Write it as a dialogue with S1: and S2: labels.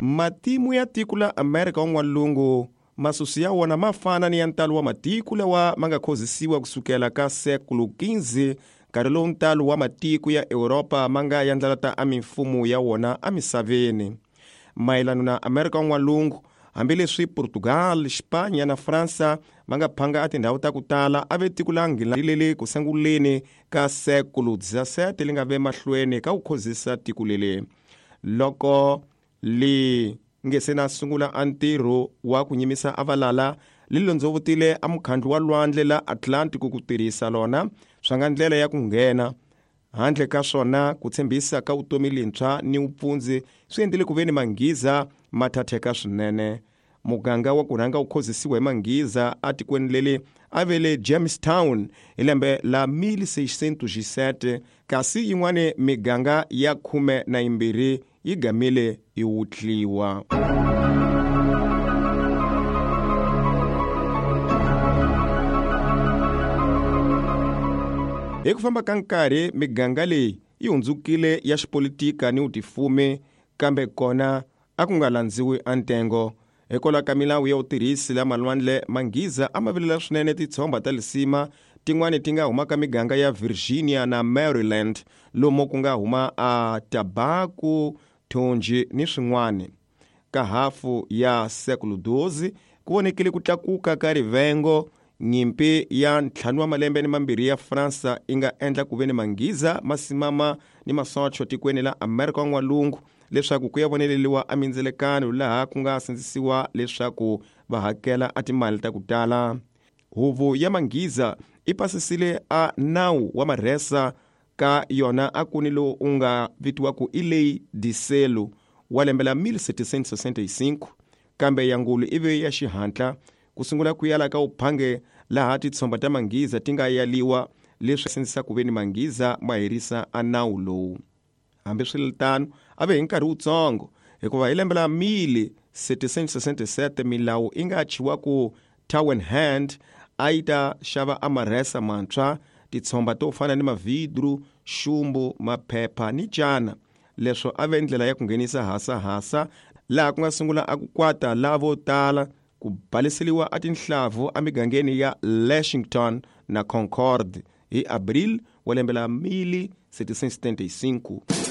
S1: Matimu ya tiko la Amerika wa N'walungu masusu ya wona ma fana ni ya ntalo wa matiko lawa ma nga khozisiwa kusukela ka sekulu 15, nkarhi lowu ntalo wa matiko ya Europa ma nga yandlalata a mimfumo ya wona emisaveni. Mayelano na Amerika wa N'walungu, hambileswi Portugal, Xipanya na Fransa va nga phanga a tindhawu ta ku tala, a ve tiko la Nghilandhi leli ku sunguleni ka sekulu 17 li nga ve mahlweni ka ku khozisa tiko leli. Loko li nge se na sungula a ntirho wa ku nyimisa a valala, li londzovutile a mukhandlu wa lwandle la Atlantic ku tirhisa lona swa nga ndlela ya ku nghena. Handle ka swona, ku tshembisa ka vutomi lintshwa ni vupfundzi swi endlile ku ve ni manghiza ma thatheka swinene. Muganga wa ku rhanga wu khozisiwa hi manghiza atikweni leli a ve le Jamestown hi lembe la 1607, kasi yin'wani miganga ya 12 yi gamile yi wutliwa. Hi ku famba ka nkarhi miganga leyi yi hundzukile ya xipolitika ni vutifumi, kambe kona a ku nga landziwi a ntengo. Hikwalaho ka milawu ya vutirhisi la malwandle, manghiza a ma vilela swinene titshomba ta lisima tin'wani ti nga huma ka miganga ya Virginia na Maryland, lomu ku nga huma a tabaku, thonji ni swin'wani. Ka hafu ya sekulu 12 ku vonekile ku tlakuka ka rivengo. Nyimpi ya 5 wa malembe ni mambirhi ya Fransa yi nga endla ku ve ni manghiza ma simama ni masocho tikweni la Amerika wa N'walungu leswaku ku ya voneleliwa a mindzelekano laha ku nga sindzisiwa leswaku va hakela a timali ta ku tala. Huvo ya manghiza i pasisile a nawu wa marhesa ka yona a ku ni lowu u nga vitiwaku i Lei de Selo wa lembe la 1765, kambe ya ngulu i ve ya xihatla ku sungula ku yala ka uphange laha titshomba ta manghiza ti nga yaliwa, leswi sindzisa ku ve ni manghiza ma herisa a nawu lowu. Hambiswiritano, a ve hi nkarhi wutsongo, hikuva hi lembe la 1767 milawu yi nga chiwa ku Town Hand a yi ta xava a marhesa mantshwa, titshomba to fana ni mavidru, xumbu, maphepha ni cana. Leswo a ve ndlela ya ku nghenisa hasahasa laha ku nga sungula a ku kwata lavo tala ku baleseliwa a tinhlavu emigangeni ya Lexington na Concord hi Abril wa lembe la 1775.